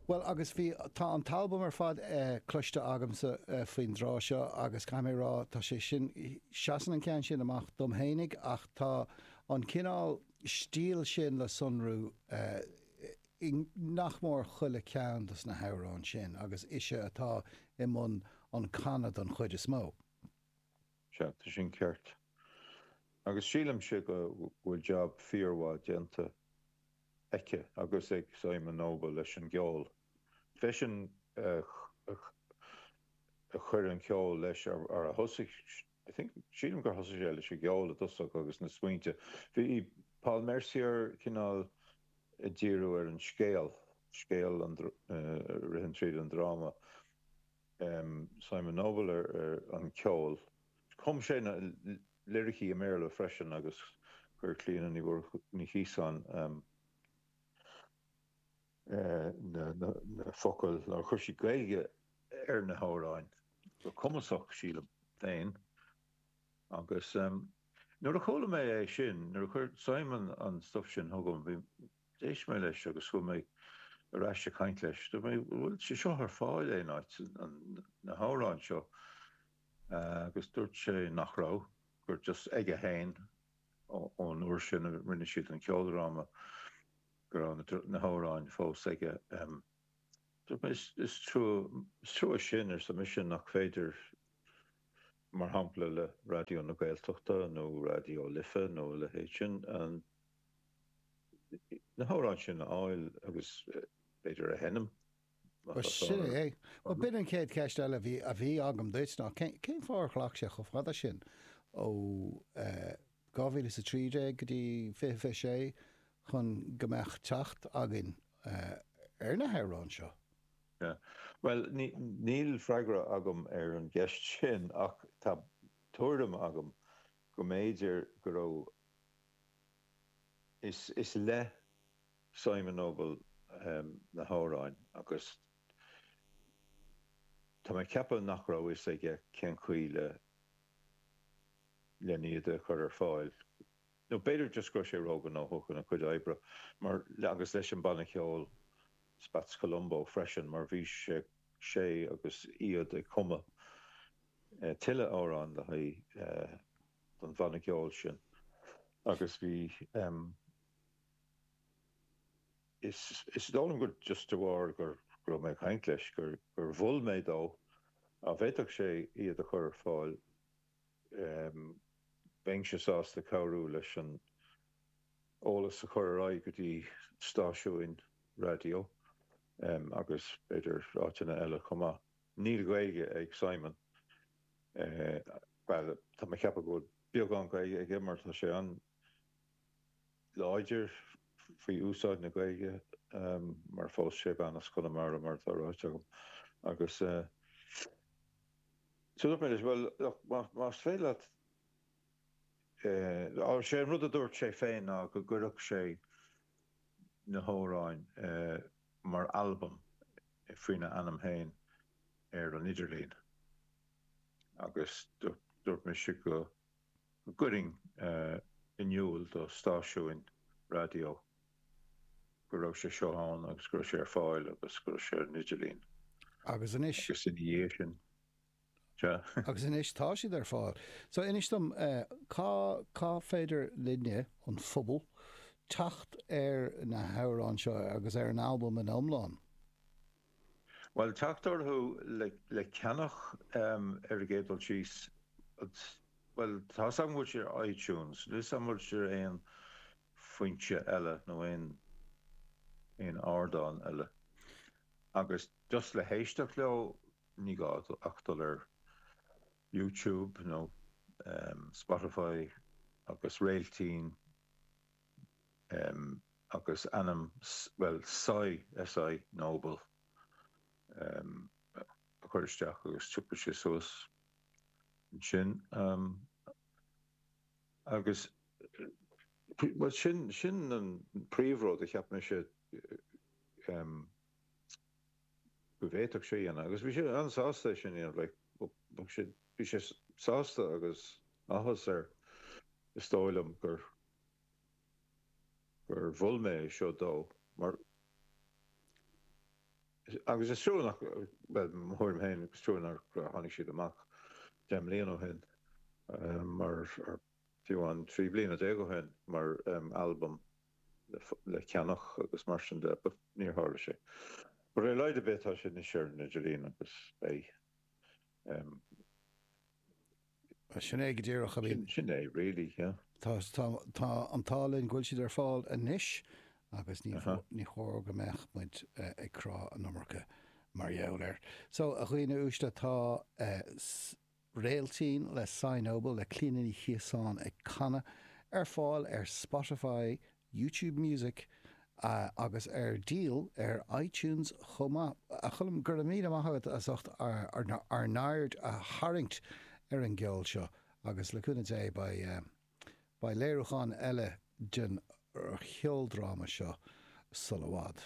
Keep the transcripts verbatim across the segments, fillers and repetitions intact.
Bhuel, agus bhí, tá an t-albam ar fad cloiste agamsa faoin dtráth seo agus caithfidh mé a rá, tá sé sin, seasann an ceann sin amach dom fhéinig ach tá an cineál stíl sin le sonrú i nach mór chuile ceann dos na hamhráin sin agus ise atá i mbun an canadh don chuid is mó. Sea, tá sin ceart. Agus sílimse go bhfuil jab fíormhaith déanta aici agus ag Simon Noble leis an gceol. B'eisean a chuir an ceol leis ar a thosaigh, I think, sílim gur thosaigh sé leis an gceol i dtosach agus na smaointe. Bhí Paul Mercier cineál ag díriú ar an scéal, scéal a ritheann tríd an dráma. Simon Noble ar an ceol. Chum sé na liricí i mBéarla freisin agus chuir Clíona Ní Chiosáin na focail, nó chuir sí Gaeilge ar na hamhráin go cumasach, sílim féin. Agus nuair a chuala mé é sin, nuair a chuir Simon an stuif sin chugam, bhí, d'éist mé leis agus chuaigh mé ar ais ag caint leis. Dúirt mé, bhfuil sé seo ar fáil aon áit, na hamhráin seo? Agus dúirt sé nach raibh, gur just aige féin ón uair sin a rinne siad an ceoldráma go raibh na hamhráin fós aige. Dúirt mé, is trua, is trua sin, arsa mise, nach féidir, mar shampla le Raidió na Gaeltachta nó Raidió Life nó a leithéid sin, na hamhráin sin a fháil agus b'fhéidir a sheinm. Bhuel, sin é. Bhuel, b'in an chéad cheist eile a bhí, a bhí agam duit ná cén, cén fáth ar ghlac sé chomh fada sin ó dhá mhíle is a trí déag go dtí fiche fiche sé chun go mbeadh teacht againn ar na hamhráin seo? Yeah. Bhuel, ní, níl freagra agam ar an gceist sin ach tá tuairim agam go mb'fhéidir go raibh, is, is le Simon Noble na hamhráin agus tá mé ag ceapadh nach raibh fhios aige cén chaoi le len iad a chur ar fáil. Nó b'fhéidir just go raibh sé róghnóthach ina chuid oibre mar agus leis an banna ceoil Spats Colombo freisin mar bhí sé sé agus iad ag cumadh tuilleadh amhrán le haghaidh don bhanna ceoil sin agus bhí Is is dóigh liom gur just de bharr gur go raibh mé ag caint leis gur gur mhol mé dó dá bhféadfadh sé iad a chur ar fáil bheinnse sásta cabhrú leis an eolas a chur ar aghaidh go dtí stáisiúin raidió agus b'fhéidir áiteanna eile chomh maith. Níl Gaeilge ag Simon. Bhuel, tá mé ag ceapadh go bhfuil beagán Gaeilge aige mar tá sé an láidir faoi úsáid na Gaeilge mar phós sé bean as Conamara mar atá ráite agam agus so dúirt mé leis bhuel look más féidir leat sé an rud a dúirt sé féin ná go gcuirfeadh sé na hamhráin mar albam faoina ainm féin ar an idirlíon agus dúirt mise go go gcuirfinn in iúl do stáisiúin raidió go raibh sé seo ann agus go raibh sé ar fáil agus go raibh sé ar an idirlíon. Agus anois. Agus ina dhiaidh sin, sea. Agus anois tá siad ar fáil. So inis dom, cá, cá féidir linne, an phobal, teacht ar na hamhráin seo agus ar an albam ina iomlán? Bhuel, teacht orthu le ceannach ar an gcéad dul síos, bhuel, tá 's agam go bhfuil sé ar iTunes, níl 's agam an bhfuil sé ar aon foinse eile nó aon aon ardán eile. Agus just le héisteacht leo, ní gá ach dul ar YouTube nó Spotify agus Réiltín. agus ainm, bhuel, Si, S I Noble a chur isteach agus tiocfaidh sé suas ansin. Agus, bhuel, sin, sin an príomhrud a cheap mise go bhféadfadh sé a dhéanamh. Agus bhí sé an-sásta é sin a dhéanamh, like, bhí sé sásta agus áthas air, is dóigh liom, gur. gur mhol mé é seo dó mar Agus is trua nach, bhuel, mo thuairim féin, is trua nár tháinig siad amach deich mbliana ó shin, mar, fiú amháin trí bliana déag ó shin, mar albam le ceannach agus mar sin de, but níor tharla sé. But ar a laghad ar bith tá sé anois ar an idirlíon agus beidh. Sin é go díreach, I mean. Sin é really, yeah. Tá, tá, tá an t-ádh linn go bhfuil siad ar fáil anois agus ní, ní chóir go mbeadh muid ag crá an iomarca mar gheall air. So, a dhaoine uaisle, tá Réiltín le Cy Noble, le Clíona Ní Chiosáin ag canadh, ar fáil ar Spotify, YouTube Music agus ar díol ar iTunes chomh maith. A Choilm, go raibh míle maith agat as ucht ár n-aird a tharraingt ar an gceol seo agus le cúnamh Dé beidh beidh léiriúchán eile den cheoldráma seo sula bhfad.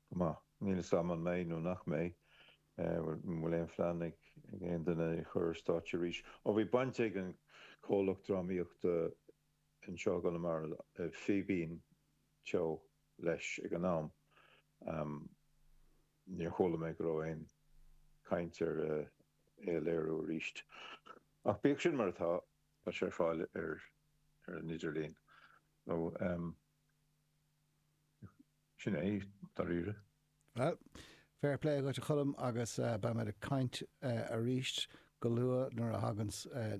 Go maith. Níl a fhios agam an mbeidh nó nach mbeidh. An bhfuil aon phlean ag aon duine é a chur ar stáitse arís? Ó bhí baint ag an comhlacht drámaíochta anseo i gConamara, Fíbín Teo, leis ag an am. Níor chuala mé go raibh aon chaint ar é a léiriú arís. Ach bíodh sin mar atá, tá sé ar fáil ar an idirlíon. So, sin é, dáiríre. Bhuel, fair play dhuit a Choilm agus beimid ag caint arís go luath nuair a thaganns na